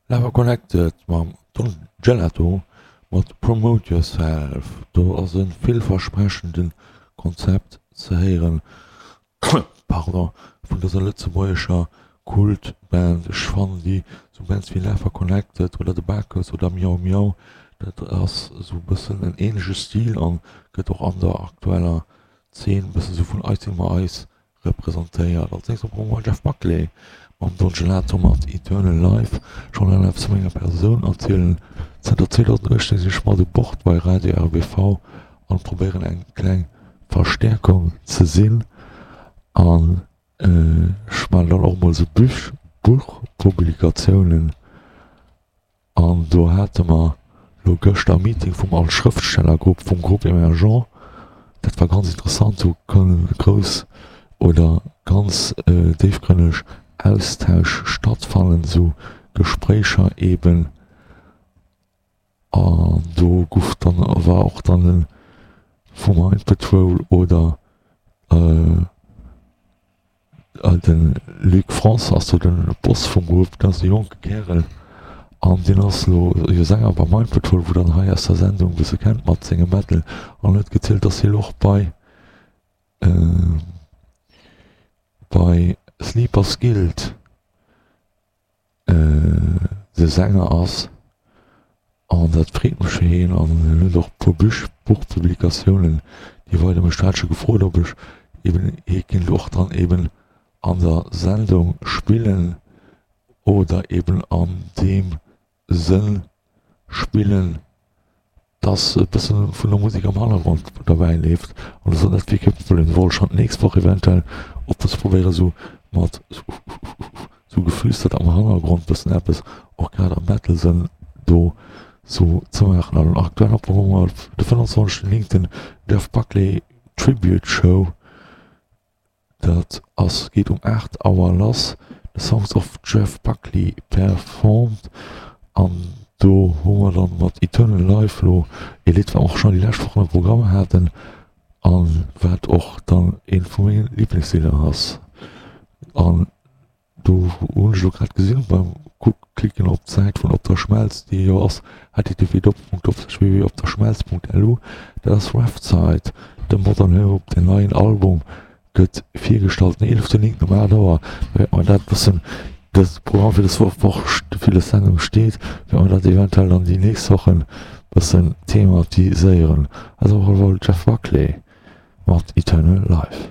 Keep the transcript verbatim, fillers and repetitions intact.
Lava Connected mam Don Gelato mat Promote Yourself. Do ass e villversprechende Konzept ze héieren, pardon, vun dëser lëtzebuergescher Kultband. Ech fannen déi sou Bands wéi Lava Connected oder The Bacchus oder Miau Miau, dat ass sou e bëssen en ähnleche Stil an gëtt och an der aktueller Zeen e bëssen sou vun eis ëmmer eis representéiert. Als nächst bekomme mer Jeff Buckley mam Don Gelato mat Eternal Life. Schonn eng eppes zu menger Persoun erzielen. Zënter zweedausenduechtzéng sinn ech mat u Bord bei Radio R B V an probéieren eng kleng Verstäerkung ze sinn. An ech maachen dann och mol sou Büch, Buchpublikatiounen. An do hate mer lo gëschter e Meeting vum All Schrëftstellergrupp, vum Groupe Emergent. Dat war ganz interessant, do kënnen grouss oder ganz déifgrënneg Austausch stattfannen, esou Gespréicher eben. An do guff dann, war och dann e vu Mind Patrol oder De Luc France ass do de Boss vum Grupp, dat ass e jonke Kärel an deen ass elo jo Sänger bei Mind Patrol, wou der hei aus der Sendung e bësse kennt mat sengem Metal, an huet gezielt, dass hie lo och bei bei Sleepers Guild de Sänger ass an dat freet mech fir hien an hien huet och e puer Büch, Buchpublikatiounen déi weider mech hat scho gefrot ob ech eben hie kinnt och dann eben an der Sendung spillen oder eben an deem Sënn spillen, dass e bësse vun der Musek am Hannergrond derbäi leeft an dat ass net wierklech e Problem. Wollt ech schonn d'nächst Woch eventuell och bësse probéieren esou mat sou geflüstert am Hannergrond bëssen eppes och grad am Metal-Sënn do sou ze maachen. An aktuell op de fënnwanzwanzegsten néngten Jeff Buckley Tribute Show. Dat ass geet um aacht Auer lass. The Songs of Jeff Buckley performed. An do hu mer dann mat Eternal Life lo e Lidd, wat mer och schonn déi lescht Wochen am Programm haten a wat och dann eent vu menge Liblingslidder ass. An do hunn ech elo grad gesinn beim Klicken op d'Säit vun Op der Schmelz, déi jo ass H T T P doppelpunkt doppelslash W W W Punkt opderschmelz Punkt L U, dat ass Website, The Modern Hope, den neien Album gëtt virgestallt den eeleften néngten um aacht Auer. Da wäerte mer dat bëssen, dës Programm fir dës Woch, fir dës Sendung steet, wäerte mer dat eventuell dann déi nächst Wochen bëssen thematiséieren. Also op alle Fall Jeff Buckley mat Eternal Life.